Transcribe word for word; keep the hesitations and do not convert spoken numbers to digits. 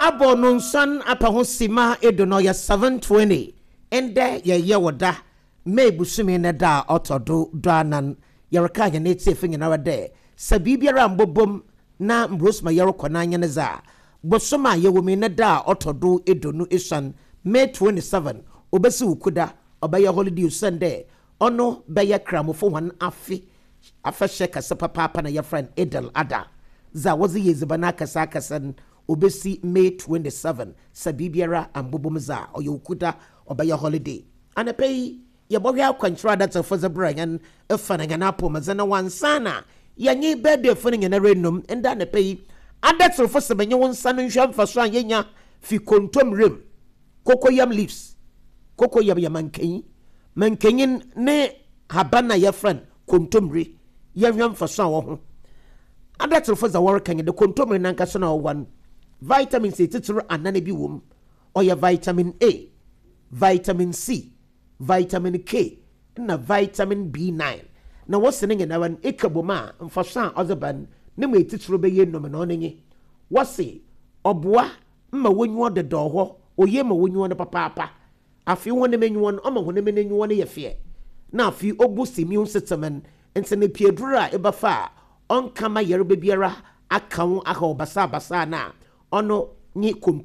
Abɔ no nsan apa ho sima edu no, ɔyɛ seven twenty. Ndɛ yɛyɛ wɔ da May busumi ne da a ɔtɔ do do anan. Yɛreka yɛn etiefo nyinara dɛ sɛ biribiara mbobom na mbrosma yɛrekɔ n'anyɛ ne dza bosom a yɛwɔ mu ne da a ɔtɔ do eduonu esuan, May twenty-seven, obesi Wukuda, ɔbɛyɛ holiday osan dɛ ɔno bɛyɛ Kramofo hɔn afe afahyɛ kɛse papaapa na yɛfrɛ no Eid Adha, dza wɔdze yɛ edziban akɛse akɛse no. Obesi May twenty-seven sɛ biribiara ambobom dza ɔyɛ Wukuda, ɔbɛyɛ holiday. Anapa yi yɛbɔhwɛ akwankyerɛ adatafo dze brɛ yɛn ɛfa na yɛn apɔmudze na wansa na yɛnye birthday fo no nyinara enum. Nda anapa yi adatafo sɛ bɛnyɛ wɔn nsa no nhwɛ mfaso a yɛnya fi kontomire, cocoyam leaves. Cocoyam yɛ mankanyi, mankanyi ne haban a yɛfrɛ no kontomire. Yɛhwɛ mfaso a wɔ ho. Adatafo dza wɔreka nyɛ de kontomire nankasa na ɔwɔ no vitamins etitiri anan bi wɔ mu. Ɔyɛ vitamin A, vitamin C, vitamin K na vitamin B nine, na wɔsi ne nyinara no eka bom a mfaso a ɔdze ba no ne mu etitiri bɛyɛ enum. Na ɔno nye wɔsi ɔboa ma wonyiwa deda hɔ, oye ma wonyiwa no papaapa. Afei wɔn enyiwa no, ɔma wɔn enyiwa no yɛ fɛ, na afei ɔbu immune system no. Nti ne pieduro a ɛbɛfa a ɔnkama yareba biara aka ho aha ɔbasabasa na ɔno nye kontomire.